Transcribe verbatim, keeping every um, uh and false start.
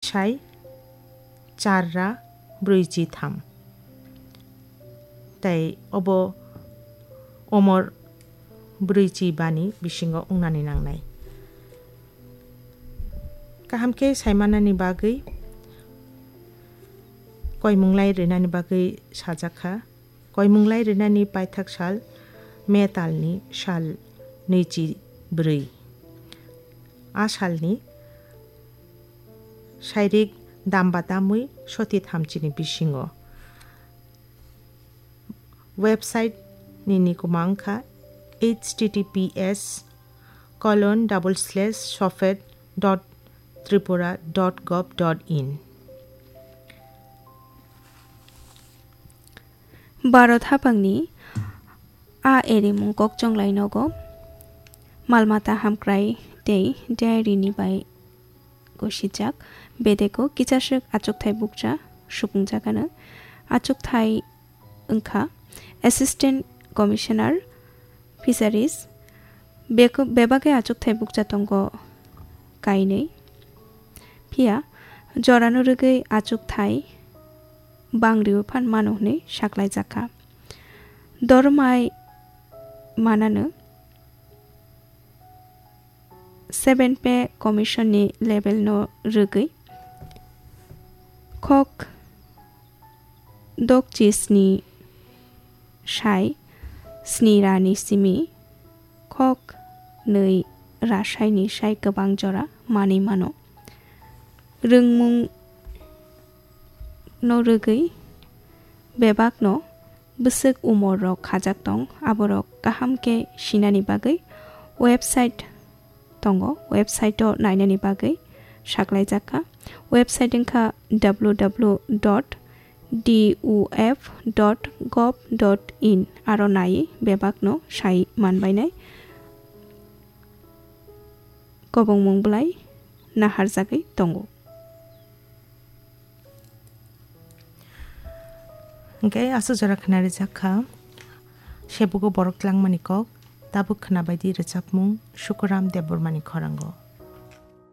sai char ra brwichi tham. Tai obo omor brwichi bani bisingo wngnani nangnai. Kaham khe saimanani bagwi koimunglai rwnani bagwi sajak kha. Koimunglai rwnani paithak sal May talni sal nwichi brwi. A salni sairik damba tamwi soti thamchini bisingo. Website nini kwma wngkha https colon double slash sofed dot tripura dot gov dot in. Bharat haphangni a erimung kokchonglai nogo, malmata hamkrai tei diary ni bai gosijak bedeko kichaswk achukthai bukcha supungjak ano. Achukthai wngkha Assistant Commissioner Fisheries. Beko-, bebak khe achukthai bukcha tongo kainwi. Phiya jorano rwgwi achukthai bangriwi phan mano hwnwi saklaijak kha. Dormai manano seven Pay Commission ni level no rwgwi khok dokchi sni sai sni ra ni simi khok nwi ra sai ni sai kwbang jora manwi mano. Rwngmung no rwgwi bebak no bwswk umor rok khajak tong, aborok kaham khe sinani bagwi website tongo, website o nainani bagwi saklaijak kha. Website wngkha w w w dot d u f dot gov dot in, aro naiwi bebak no sai manbainai kobongmung bwlai naharjagwi tongo. Hwnkhe aswk jora khwnarijak kha Sebugo borok tlangmani kok, tabuk khwnabaidi rwchapmung Sukuram Debbarmani khorango.